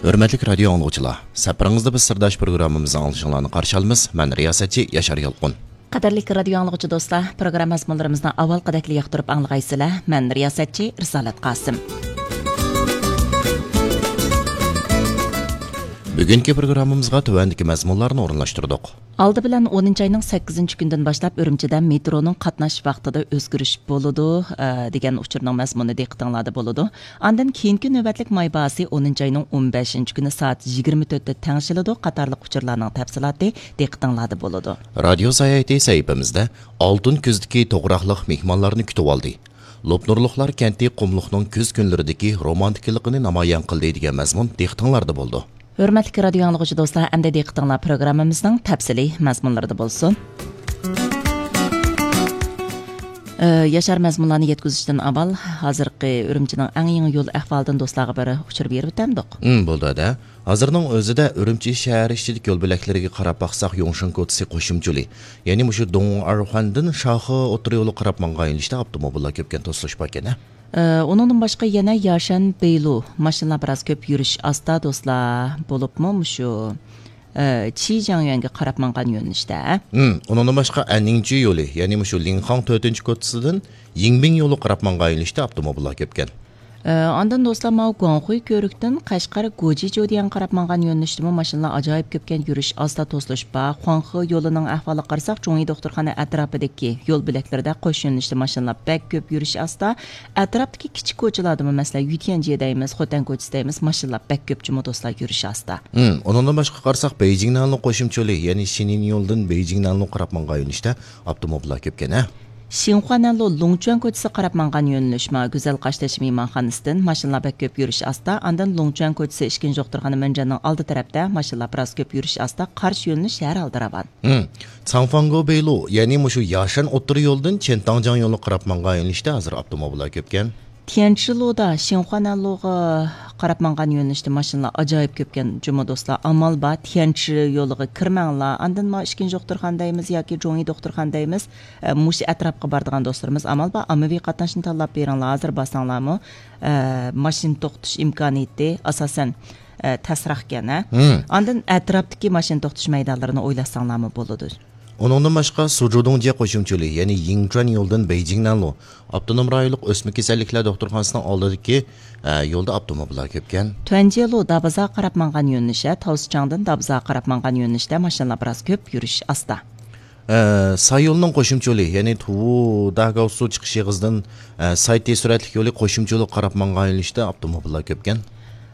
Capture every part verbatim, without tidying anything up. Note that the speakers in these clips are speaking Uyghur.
ھۆرمەتلىك رادىيو ئاڭلىغۇچىلار، سەپىرىڭىزدە بىز سىرداش پروگراممىمىزنىڭ ئاڭلىشىڭلارنى قارشى ئالىمىز. مەن رىياسەتچى ياشار يالقۇن. قەدىرلىك رادىيو ئاڭلىغۇچى دوستلار، پروگرامما مەزمۇنلىرىمىزنى ئاۋۋالقىدەكلا ياقتۇرۇپ ئاڭلىغايسىلەر. مەن رىياسەتچى رىسالەت قاسىم. بۈگۈنكى پروگراممىمىزغا تۆۋەندىكى مەزمۇنلارنى ئورۇنلاشتۇردۇق. ئالدى بىلەن ئونىنچى ئاينىڭ سەككىزىنچى كۈنىدىن باشلاپ ئۈرۈمچىدە مېترونىڭ قاتناش ۋاقتىدا ئۆزگىرىش بولىدۇ، ئە، دېگەن ئۇچۇرنىڭ مەزمۇنى دىققىتىڭلاردا بولىدۇ. ئاندىن كېيىنكى نۆۋەتلىك ماي باھاسى ئونىنچى ئاينىڭ ئون بەشىنچى كۈنى سائەت يىگىرمە تۆتتە تەڭشىلىدۇ قاتارلىق ئۇچۇرلارنىڭ تەپسىلاتى دىققىتىڭلاردا بولىدۇ. رادىيو ساياھىتى سەھىپىمىزدە ئالتۇن كۈزدىكى توغراقلىق مېھمانلارنى كۈتۈۋالدى. لوپنۇرلۇقلار كەنتى قۇملۇقنىڭ كۈز كۈنلىرىدىكى رومانتىكىلىقىنى نامايان قىلدى دېگەن مەزمۇن دىققىتىڭلاردا بولىدۇ. ھۆرمەتلىك رادىيو ئاڭلىغۇچى دوستلار، ئەمدى دىققىتىڭلار پروگراممىمىزنىڭ تەپسىلىي مەزمۇنلىرىدا بولسۇن. ئە، ياشار مەزمۇنلارنى يەتكۈزۈشتىن ئاۋۋال، ھازىرقى ئۈرۈمچىنىڭ ئەڭ يېڭى يول ئەھۋالىدىن دوستلارغا بىر ئۇچۇر بېرىپ ئۆتەمدۇق؟ ئىم، بولدى، ھەدە. ھازىرنىڭ ئۆزىدە ئۈرۈمچى شەھەر ئىچىدىكى يول بۆلەكلىرىگە قاراپ باقساق، يۇڭشېن كوچىسى قوشۇمچە يولى، يەنى مۇشۇ دوڭئارخۇەندىن شاخې ئوتتۇرا يولىغا قاراپ ماڭغان يۆنىلىشتە ئاپتوموبىللار كۆپكەن توسۇلۇش باركەن، ھە؟ ئە، ئۇنىڭدىن باشقا يەنە ياشەن بېيلۇ ماشىنىلار بىراز كۆپ يۈرۈش ئاستا دوستلار، بولۇپمۇ مۇشۇ، ئە، چىجياڭيۈەنگە قاراپ ماڭغان يۆنىلىشتە. ھىم، ئۇنىڭدىن باشقا ئەننىڭچى يولى، يەنى مۇشۇ لىڭخاڭ تۆتىنچى كوچىسىدىن يىڭبىڭ يولىغا قاراپ ماڭغان يۆنىلىشتە ئاپتوموبىللار كۆپكەن. ئە، ئاندىن دوستلار، ماۋۇ گۇاڭخۇي كۆۋرۈكتىن قەشقەر گوجىجۇ دېگەن قاراپ ماڭغان يۆنىلىشتىمۇ ماشىنىلار ئاجايىپ كۆپكەن، يۈرۈش ئاستا، توسۇلۇش بار. خۇاڭخې يولىنىڭ ئەھۋالىغا قارىساق، جۇڭيى دوختۇرخانا ئەتراپىدىكى يول بۆلەكلىرىدە قوش يۆنىلىشتە ماشىنىلار بەك كۆپ، يۈرۈش ئاستا. ئەتراپتىكى كىچىك كوچىلاردىمۇ، مەسىلەن، يۈتيەنجيې دەيمىز، خوتەن كوچىسى دەيمىز، ماشىنىلار بەك كۆپ جۇمۇ دوستلار، يۈرۈش ئاستا. ھىم، ئۇنىڭدىن باشقا قارىساق، بېيجىڭ نەنلۇ قوشۇمچە يولى، يەنى شېنىن يولدىن بېيجىڭ نەنلۇ قاراپ ماڭغان يۆنىلىشتە ئاپتوموبىللار كۆپكەن، ھە؟ شىنخۇا نەنلۇ لۇڭچۈەن كوچىسى قاراپ ماڭغان يۆنىلىش، ما گۈزەل قاشتېشى مېھمانخانىسىدىن ماشىنىلار بەك كۆپ، يۈرۈش ئاستا. ئاندىن لۇڭچۈەن كوچىسى ئىككىنچى دوختۇرخانا مۆنجەننىڭ ئالدى تەرەپتە ماشىنىلار بىراز كۆپ، يۈرۈش ئاستا. قارشى يۆنىلىش ھەر ھالدا راۋان. ھىم. ساڭفاڭگو بېيلۇ، يەنى مۇشۇ ياشەن ئوتتۇرا يولىدىن چېنتاڭجياڭ يولىغا قاراپ ماڭغان يۆنىلىشتە ھازىر ئاپتوموبىللار كۆپكەن. تيەنچىلۇدا شىنخۇا نەنلۇغا قاراپ ماڭغان يۆنىلىشتە ماشىنىلار ئاجايىپ كۆپكەن جۇمۇ دوستلار. ئامال بار، تيەنچى يولىغا كىرمەڭلار. ئاندىن ما ئىككىنچى دوختۇرخانا دەيمىز ياكى جۇڭيى دوختۇرخانا دەيمىز، ئە، مۇشۇ ئەتراپقا بارىدىغان دوستلىرىمىز، ئامال بار، ئاممىۋى قاتناشنى تاللاپ بېرىڭلار. ھازىر بارساڭلارمۇ، ئە، ماشىنا توختىتىش ئىمكانىيىتى ئاساسەن، ئە، تەسراقكەن، ھە؟ ھىم. ئاندىن ئەتراپتىكى ماشىنا توختىتىش مەيدانلىرىنى ئويلاشساڭلارمۇ بولىدۇ. ئۇنىڭدىن باشقا، سۇجۇدۇڭجيې قوشۇمچە يولى، يەنى يىڭچۈەن يولىدىن بېيجىڭ نەنلۇ، ئاپتونوم رايونلۇق ئۆسمە كېسەللىكلەر دوختۇرخانىسىنىڭ ئالدىدىكى، ئە، يولدا ئاپتوموبىللار كۆپكەن. تۈەنجيېلۇ دابىزاغا قاراپ ماڭغان يۆنىلىش، ھە، تاۋسىچاڭدىن دابىزاغا قاراپ ماڭغان يۆنىلىشتە ماشىنىلار بىراز كۆپ، يۈرۈش ئاستا. ئە، ساي يولىنىڭ قوشۇمچە يولى، يەنى تۇۋۇ داگاۋسۇ چىقىش ئېغىزىدىن، ئە، سايتى سۈرئەتلىك يولى قوشۇمچە يولىغا قاراپ ماڭغان يۆنىلىشتە ئاپتوموبىللار كۆپكەن.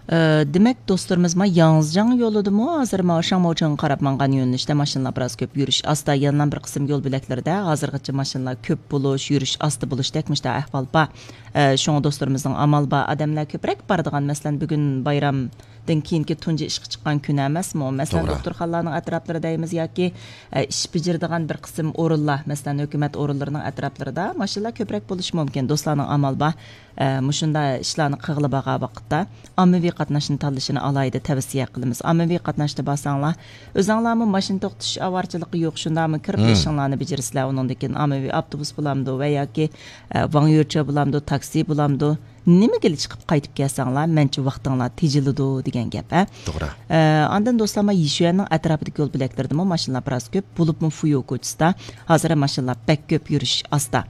ئە، دېمەك، دوستلىرىمىز ما ياڭزىجاڭ يولىدىمۇ ھازىر ما شاڭماۋچىڭغا قاراپ ماڭغان يۆنىلىشتە ماشىنىلار بىراز كۆپ، يۈرۈش ئاستا. يەنىلا بىر قىسىم يول بۆلەكلىرىدە ھازىرغىچە ماشىنىلار كۆپ بولۇش، يۈرۈش ئاستا بولۇشتەك مۇشۇنداق ئەھۋال بار. ئە، شۇڭا دوستلىرىمىزنىڭ ئامال بار ئادەملەر كۆپرەك بارىدىغان، مەسىلەن، بۈگۈن بايرام دىن كېيىنكى تۇنجى ئىشقا چىققان كۈن ئەمەسمۇ؟ مەسىلەن، توغرا. دوختۇرخانىلارنىڭ ئەتراپلىرى دەيمىز ياكى، ئە، ئىش بېجىرىدىغان بىر قىسىم ئورۇنلار، مەسىلەن، ھۆكۈمەت ئورۇنلىرىنىڭ ئەتراپلىرىدا ماشىنىلار كۆپرەك بولۇشى مۇمكىن. دوستلارنىڭ ئامال بار، ئە، مۇشۇنداق ئىشلارنى قىلغىلى بارغان ۋاقىتتا ئاممىۋى قاتناشنى تاللىشىنى ئالاھىدە تەۋسىيە قىلىمىز. ئاممىۋى قاتناشتا بارساڭلار، ئۆزۈڭلارمۇ ماشىنا توختىتىش ئاۋارىچىلىكى يوق، شۇنداقمۇ كىرىپ مم. ئىشىڭلارنى بېجىرىسىلەر. ئۇنىڭدىن كېيىن ئاممىۋى ئاپتوبۇس بولامدۇ ۋە ياكى، ئە، ۋاڭيۈچې بولامدۇ، تاكسى بولامدۇ، نېمىگىلا چىقىپ قايتىپ كەلسەڭلار، مەنچە ۋاقتىڭلار تېجىلىدۇ دېگەن گەپ، ھە؟ توغرا. ئە، ئاندىن دوستلار، ما يىشۈەننىڭ ئەتراپىدىكى يول بۆلەكلىرىدىمۇ ماشىنىلار بىراز كۆپ، بولۇپمۇ فۇيۇ كوچىسىدا ھازىر ماشىنىلار بەك كۆپ، يۈرۈش ئاستا.